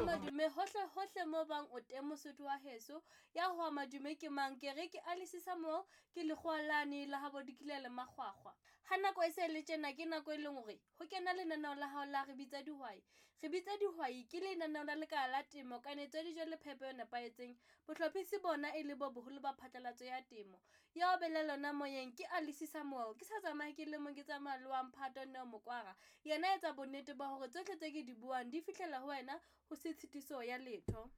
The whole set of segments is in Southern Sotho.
Madume hohle hohle mo bang o teng Mosotho wa heso. Ya hwa madume ke mang? Ke re ke Alice Samuel, ke lekgowa lane la habo Dikile le Makgwakgwa. Ha nako e se le tjena ke nako e leng hore ho kena lenaneo la hao la Re Bitsa Dihwai. Re Bitsa Dihwai ke lenaneo la lekala la temo, kanetso ya dijo le phepo e nepahetseng. Bohlophisi bona e le bo boholo ba phatlalatso ya temo. Ya o bela lona moyeng ke Alice Samuel. Ke sa tsamaye ke le mong, ke tsamaya le wa mphato Neo Mokwara. Yena etsa bonnete ba hore tsohle tse ke di buang di fihlela ho wena ho se tshitiso ya letho.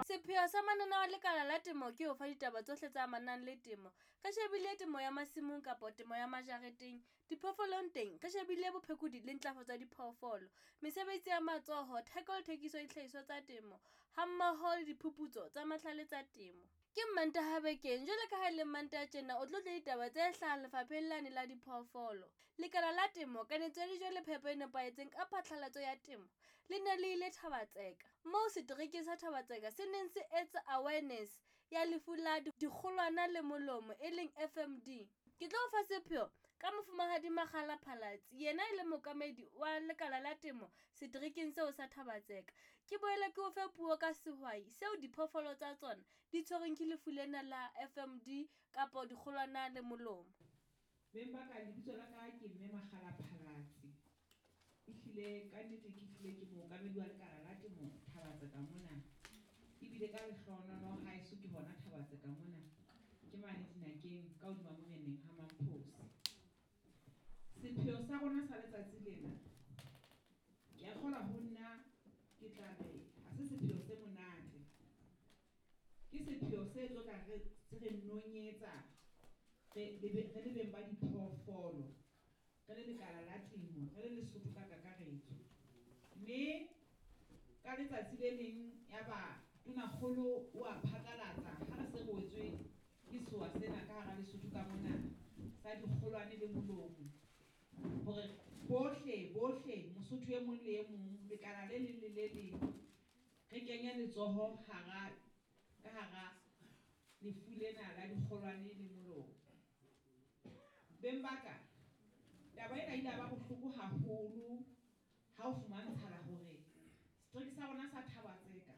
Sepheo sa mananeo a lekala la temo ke ho fa ditaba tsohle tse amanang le temo. Re shebile temo ya masimong kapa temo ya majareteng. Diphoofolong teng re shebile bophekodi le ntlafatso ya diphoofolo, mesebetsi ya matsoho, theko le thekiso ya dihlahiswa tsa temo hammoho le diphuputso tsa mahlale tsa temo. Ke Mmantaha bekeng, jwalo ka ha e le Mmantaha tjena o tlo utlwa ditaba tse hlahang lefapheng lane la diphoofolo. Lekala la temo, kanetso ya dijo le phepo e nepahetseng ka phatlalatso ya temo le ne le ile Thaba-Tseka. Moo seterekeng sa Thaba-Tseka se neng se etsa awareness ya lefu la dikgolwana le molomo e leng FMD. Ke tlo o fa sepheo ka Mofumahadi Makgala Phalatsi, yena e le mookamedi wa lekala la temo seterekeng seo sa Thaba-Tseka. Ke boele ke o fe puo ka sehwai seo diphoofolo tsa tsona di tshwerweng ke lefu lena la FMD kapo dikgolwana le molomo. Beng ba ka, lebitso la ka ke Mme Makgala Phalatsi. Ehlile ka nnete ke hlile ke mookamedi wa lekala la temo Thaba-Tseka mona. Ebile ka lehlohonolo haeso ke hona Thaba-Tseka mona. Ke mane dinakeng ka hodima moreneng ha Mamphosi. Sepheo sa rona sa letsatsi lena, ke a kgolwa ho nna ke tla re ha se sepheo se monate. Ke sepheo se tlo tla re se re nonyetsa re le beng ba diphoofolo, re le lekala la temo, re le Lesotho ka kakaretso. Mme ka letsatsi le leng ya ba tonakgolo o a phatlalatsa ha re se re wetswe ke sewa sena ka hara Lesotho ka mona sa dikgolwane le molomo, hore bohle bohle Mosotho e mong le e mong, lekala le leng le le leng, re kenye letsoho hara ka hara lefu lena la dikgolwane le molomo. Beng ba ka, taba ena ile ya ba bohloko haholo ha o fumantshala hore setereke sa rona sa Thaba-Tseka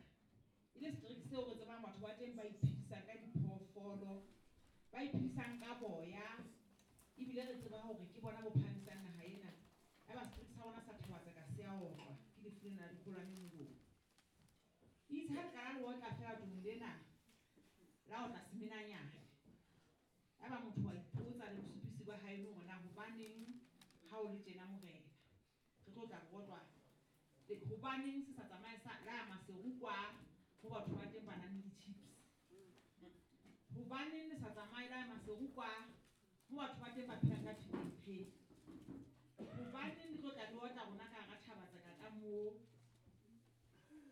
e le setereke seo re tsebang batho ba teng ba iphedisang ka diphoofolo, ba iphedisang ka boya, ebile re tseba hore ke bona bo phahamisang naha ena. Eba setereke sa rona sa Thaba-Tseka se a otlwa ke lefu lena la dikgolwane molomo. Itse ha le qala le otla feela tlong lena la otla semenanyane. Eba motho wa ipotsa le bosupisi ba hae hore na hobaneng ha o le tjena morena. Re tlo tla re otlwa. Hobaneng se sa tsamaye sa la Maseru kwa ho batho ba teng ba nang le di-chips. Hobaneng le sa tsamaye la Maseru kwa ho batho ba teng ba phelang ka Pick n Pay. Hobaneng le tlo tla le otla rona ka hara Thaba-Tseka ka moo.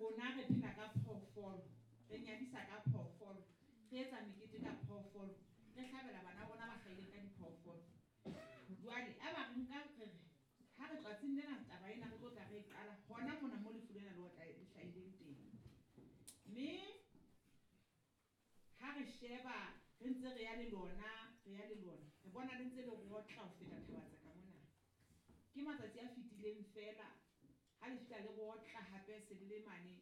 Rona re phela ka phoofolo, re nyadisa ka phoofolo, re etsa mekete ka phoofolo, re hlabela bana rona ba hlahileng ka diphoofolo. Jwale eba re nka re re ha re tsatsing lena taba ena re tlo tla re e qala hona mona mo lefu lena le otla le hlahileng teng. Mme ha re sheba re ntse re ya le lona, re ya le lona, re bona le ntse le rotla ho feta Thaba-Tseka mona. Ke matsatsi a fetileng feela ha le fihla le rotla hape se le le mane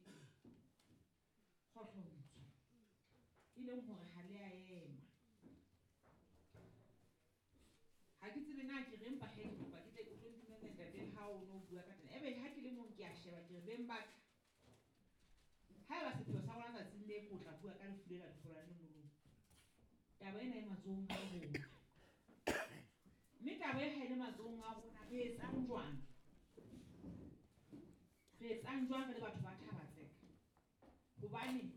Kgohlontsho, e leng hore ha le a ema. Ha ke tsebe na ke reng, empa he ke kopa ke tle o tlo ntumella ntate ha o no bua ka tena. Ebe ha ke le mong ke a sheba ke re beng ba ka, haeba sepheo sa rona tsatsing le ko tla bua ka lefu lena dikgolwane le molomo, taba ena e matsohong a rona. Mme taba e ha e le matsohong a rona, re etsang jwang? Re etsang jwang re le batho ba Thaba-Tseka? Hobane